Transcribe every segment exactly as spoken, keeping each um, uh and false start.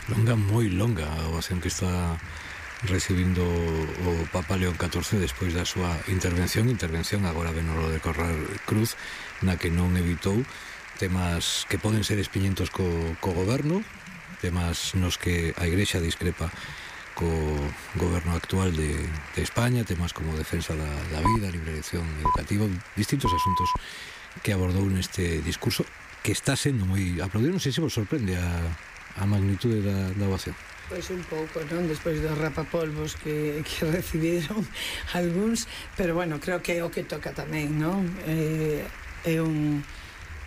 Longa, moi longa a ovación que está recibindo o Papa León catorce despois da súa intervención intervención agora de Nolo de Corral Cruz, na que non evitou temas que poden ser espiñentos co, co goberno, temas nos que a Igrexa discrepa co goberno actual de, de España, temas como defensa da, da vida, libre elección educativa, distintos asuntos que abordou neste discurso que está sendo moi aplaudido. Non sei se vos sorprende a, a magnitude da, da ovación. Pois un pouco, non? Despois dos rapapolvos que, que recibiron algúns, pero bueno, creo que é o que toca tamén, non? Eh, é un...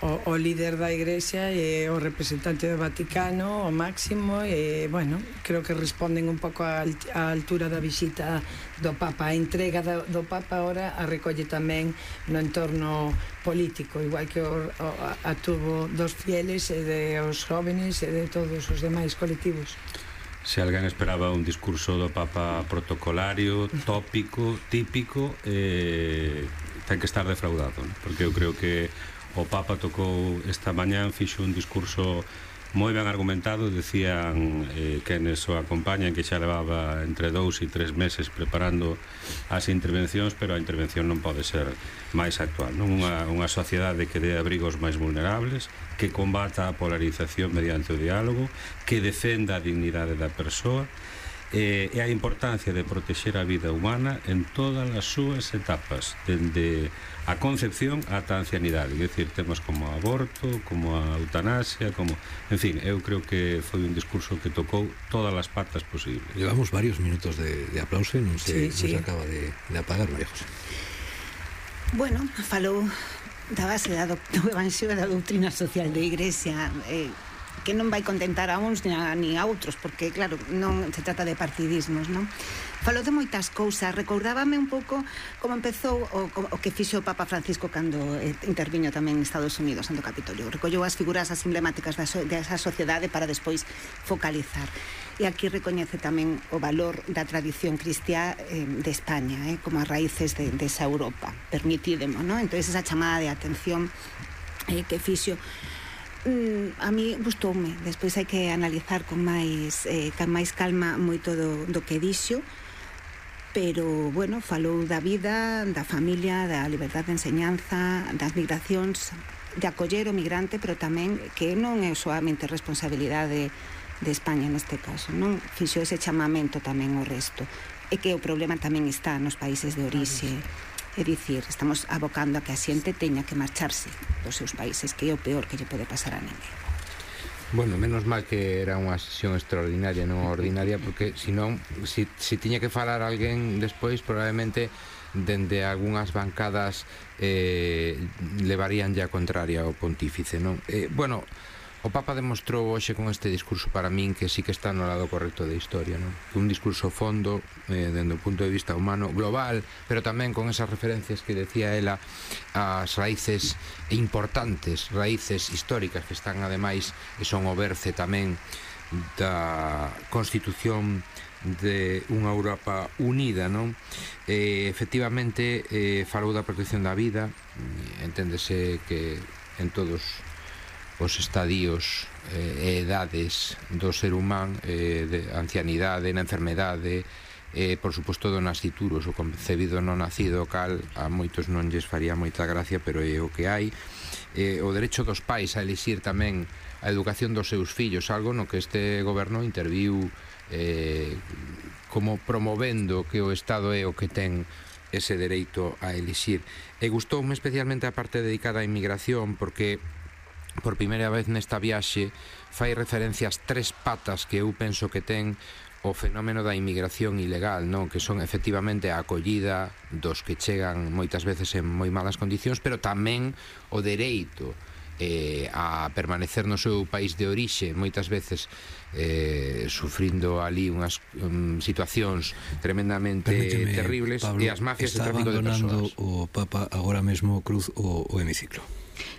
O, o líder da Igrexa e o representante do Vaticano, o máximo, e, bueno, creo que responden un pouco á altura da visita do Papa. A entrega do, do Papa ahora a recolle tamén no entorno político, igual que o, o, a tuvo dos fieles e de os jóvenes e de todos os demais colectivos. Se alguén esperaba un discurso do Papa protocolario, tópico, típico, eh, ten que estar defraudado, ¿no? Porque eu creo que o Papa tocou esta mañán, fixo un discurso moi ben argumentado. Decían eh, quenes o acompañan que xa levaba entre dous e tres meses preparando as intervencións, pero a intervención non pode ser máis actual, non? Unha, unha sociedade que dé abrigos máis vulnerables, que combata a polarización mediante o diálogo, que defenda a dignidade da persoa, eh, e a importancia de protexer a vida humana en todas as súas etapas, dende a concepción ata a ancianidade, é dicir, temas como o aborto, como a eutanasia, como... En fin, eu creo que foi un discurso que tocou todas as patas posibles. Llevamos varios minutos de, de aplauso e non se, sí, sí. non se acaba de, de apagar, María José. Bueno, falou da base da do, do evanxio da doutrina social de Igrexa, eh, que non vai contentar a uns ni a, ni a outros, porque, claro, non se trata de partidismos, non? Falou de moitas cousas. Recordábame un pouco como empezou o, o que fixo o Papa Francisco cando eh, interviño tamén en Estados Unidos, no Capitolio. Recollou as figuras as emblemáticas da so, desa sociedade para despois focalizar. E aquí recoñece tamén o valor da tradición cristiá eh, de España, eh, como as raíces de, de esa Europa. Permitídemo, non? Entón, esa chamada de atención eh, que fixo, Mm, a mí gustoume. Despois hai que analizar con máis eh, con máis calma moito do, do que dixo, pero, bueno, falou da vida, da familia, da liberdade de enseñanza, das migracións, de acoller o migrante, pero tamén que non é soamente responsabilidade de España neste caso, non? Fixo ese chamamento tamén ao resto, e que o problema tamén está nos países de orixe. É dicir, estamos abocando a que a xente teña que marcharse dos seus países, que é o peor que lle pode pasar a ninguén. Bueno, menos mal que era unha sesión extraordinaria, non ordinaria, porque senón, si, si tiña que falar alguén despois, probablemente dende algunhas bancadas eh, levarían ya contraria ao pontífice, non? Eh, bueno, o Papa demostrou hoxe con este discurso para min que sí que está no lado correcto da historia, non? Un discurso fondo, eh, dende o punto de vista humano, global, pero tamén con esas referencias que decía ela, as raíces importantes, raíces históricas que están ademais e son o berce tamén da constitución de unha Europa unida, non? Eh, efectivamente, eh, falou da protección da vida, enténdese que en todos os estadios e eh, edades do ser humán, eh, de ancianidade, na enfermedade, eh, por suposto do nascituros, o concebido non nacido, cal a moitos non lles faría moita gracia, pero é o que hai. Eh, o derecho dos pais a elixir tamén a educación dos seus fillos, algo no que este goberno interviu eh, como promovendo que o Estado é o que ten ese dereito a elixir. E gustoume especialmente a parte dedicada á inmigración, porque por primeira vez nesta viaxe fai referencia ás tres patas que eu penso que ten o fenómeno da inmigración ilegal, non? Que son efectivamente a acollida dos que chegan moitas veces en moi malas condicións, pero tamén o dereito eh, a permanecer no seu país de orixe, moitas veces eh, sufrindo ali unhas um, situacións tremendamente Permíteme, terribles, Pablo, e as mafias de tráfico de persoas. o Papa agora mesmo Cruz o, o hemiciclo.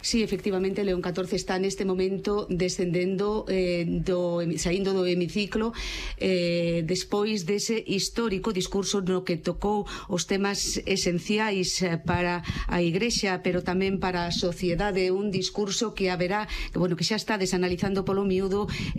Sí, efectivamente, León catorce está neste momento descendendo, eh, do, saindo do hemiciclo eh, despois dese histórico discurso no que tocou os temas esenciais para a Igrexa, pero tamén para a sociedade, un discurso que haberá, que, bueno, que xa está desanalizando polo miúdo